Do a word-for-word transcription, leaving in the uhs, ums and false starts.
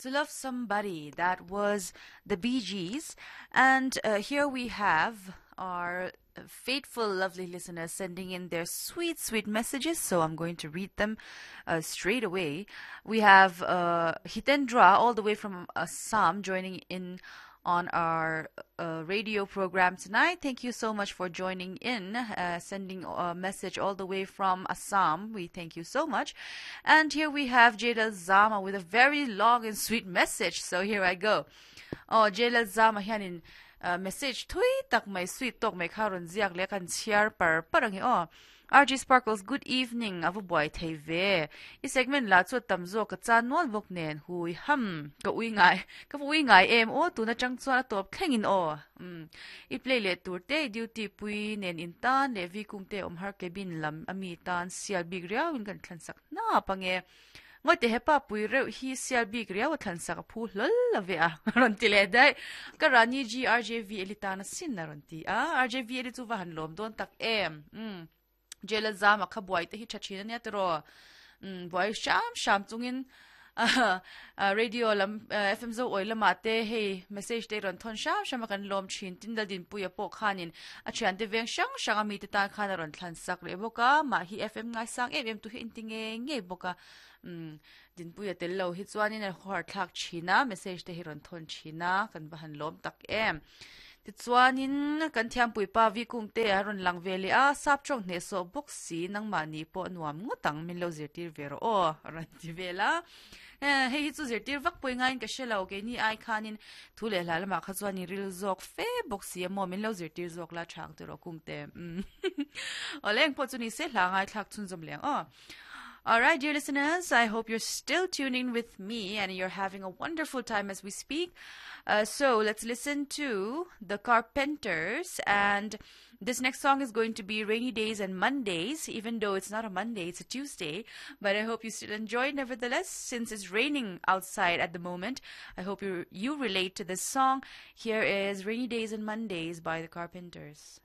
To Love Somebody, that was the Bee Gees. And uh, here we have our faithful, lovely listeners sending in their sweet, sweet messages. So I'm going to read them uh, straight away. We have uh, Hitendra all the way from Assam joining in on our uh, radio program tonight. Thank you so much for joining in, uh, sending a message all the way from Assam. We thank you so much. And here we have Jadal Zama with a very long and sweet message. So here I go. Oh, Jadal Zama hianin uh, message thui tak mai sweet tok mai kha ron ziak le kan chiar par parang hi o. R G Sparkles, good evening. Ava boy thei ve. I segment la chu tam zo ka chan nual bok nen hui ham ka ui ngai. Ka ui ngai em o tu na chang chuan a top thleng in o. Um i play le tur te duty pui nen in tan le vi kung te om har cabin lam ami tan sial big riau in kan thlan sak na pange. Ngoi te hepa pui reuh hi sial bik riau thlan sak a phu hlol la ve a ron ti le dai ka rani G R J V elitana sin na ron ti a R J V eli chu va han lom don tak em um jela zama kha buai te hi thachina nia tro um buai sham sham chungin uh, radio lam uh, F M zo oi lama te hei message te ron thon sham sham kan lom thin tin dal din puya po khanin a thian te veng shang shang ami te ta khan ron thlan sak le boka ma hi F M ngai sang em em tu hi intinge nge boka um din puya tel lo hi chuanin a hor thlak thina message te hi ron thon thina kan ba han lom tak em ti chuanin kan thiam pui pa vi kung te a ron lang vele a sap chong hne so box si nang ma ni po nuam ngutang min lo zirtir vero o ron ti vela. Eh, hei hi chu zirtir vak pui ngain ka shelo ke ni ai khanin thu le hla lama kha chuan ni ril zawk fe box si mo min lo zirtir zawk la thang te ro kung te oleng po chu ni se hla ngai thlak chun zom leng o. All right, dear listeners, I hope you're still tuning with me and you're having a wonderful time as we speak. Uh, so let's listen to The Carpenters. And this next song is going to be Rainy Days and Mondays, even though it's not a Monday, it's a Tuesday. But I hope you still enjoy it nevertheless, since it's raining outside at the moment. I hope you, you relate to this song. Here is Rainy Days and Mondays by The Carpenters.